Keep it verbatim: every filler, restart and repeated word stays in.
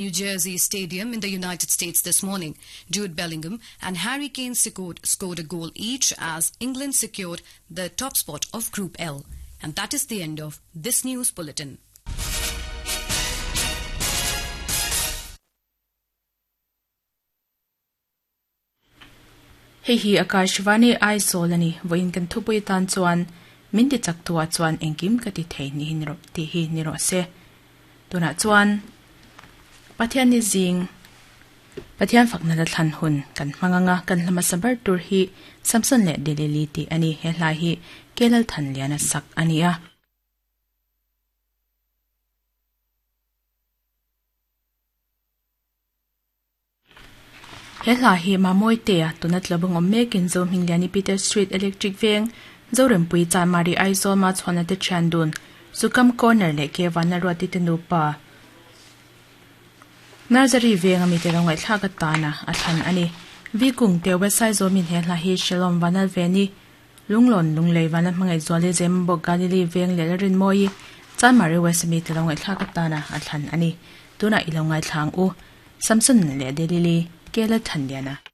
New Jersey Stadium in the United States this morning. Jude Bellingham and Harry Kane secured, scored a goal each as England secured the top spot of Group L. And that is the end of this news bulletin. Hei hi Akashvani Aizawl ani voin kan thupui tan chuan min ti chak tua chuan engkim ka ti thei ni hin ro ti hi ni ro se tuna chuan Pathian ni zing Pathian fakna la thlan hun kan hmanganga kan hlama sabar tur hi Samson le Delili ti ani he hlai hi kelal than liana sak ania. He hla hi mamoi te a tunat lobong om mekin zo mingliani Peter Street Electric Veng Zorempui Chanmari Aizawl ma chhona te chandun Sukam Corner le ke wana ruati te nupa Nursery Veng ami te rongai thla ka tana a thlan ani Vikung te website zo min he hla hi Shalom Vanal Veni Lunglon Lunglei wana hmangai zole Zembo Galili Veng le rin moi Chanmari West mi te rongai thla ka tana a thlan ani tuna ilongai thlang u Samson le Delili Kela Thandiana.